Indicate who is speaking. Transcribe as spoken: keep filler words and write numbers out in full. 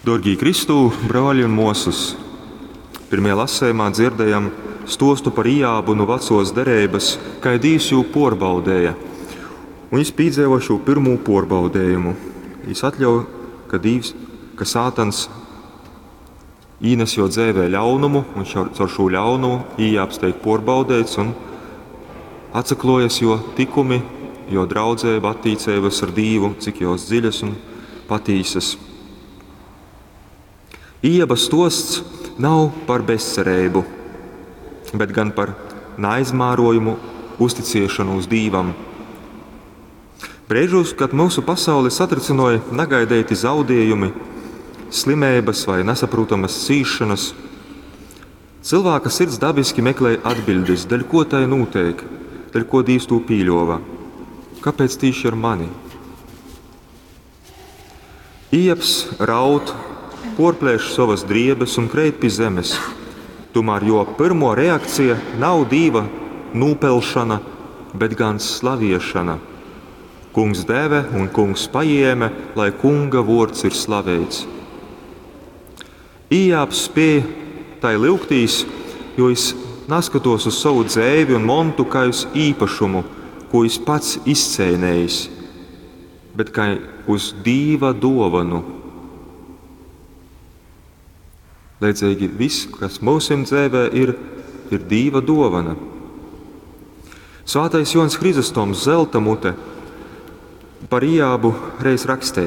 Speaker 1: Dorgī Kristū, brōļi un mōsas, pirmajā lasējumā dzirdējam stostu par Ijābu nu vecos dereibas, kai Dīvs jū pōrbaudēja. Un jis pīdzeivo šū pirmū pōrbaudējumu. Jis atļauj, ka Dīvs, ka Sātans īnes jo dzēvē ļaunumu, un šo, caur šū ļaunumu Ijābs teik pōrbaudēts un atsaklojas jo tikumi, jo draudzeiba, attīceibas ar Dīvu, cik jos dziļas un patīsas. Ijaba stosts nav par bezcereibu, bet gan par neaizmērojumu uzticiešonos Dīvam. Breižos, kad mūsu pasauli satricinoja nagaideiti zaudējumi, slimeibas vai nesaprotamas cīšanas, cilvēka sirds dabiski meklē atbildes, dēļ ko tai notiek, dēļ ko Dievs to pīļova. Kāpēc tīši ar mani? Ijabs raud, porplēš savas driebes un kreit pie zemes. Tomēr jo pirmo reakcija nav Dīva nūpelšana, bet gan slaviešana. Kungs deve un kungs paēma, lai kunga vārds ir slaveits. Ijābs spēja tai lyugtīs, jo es neskatos uz savu dzēvi un montu kā uz īpašumu, ko es pats izcēnējis, bet kā uz Dīva dovanu. Leidzīgi viss, kas mūsim dzēvē ir, ir Dīva dovana. Svētais Jons Hrizostoms Zelta mute par Ijābu reiz rakstēja.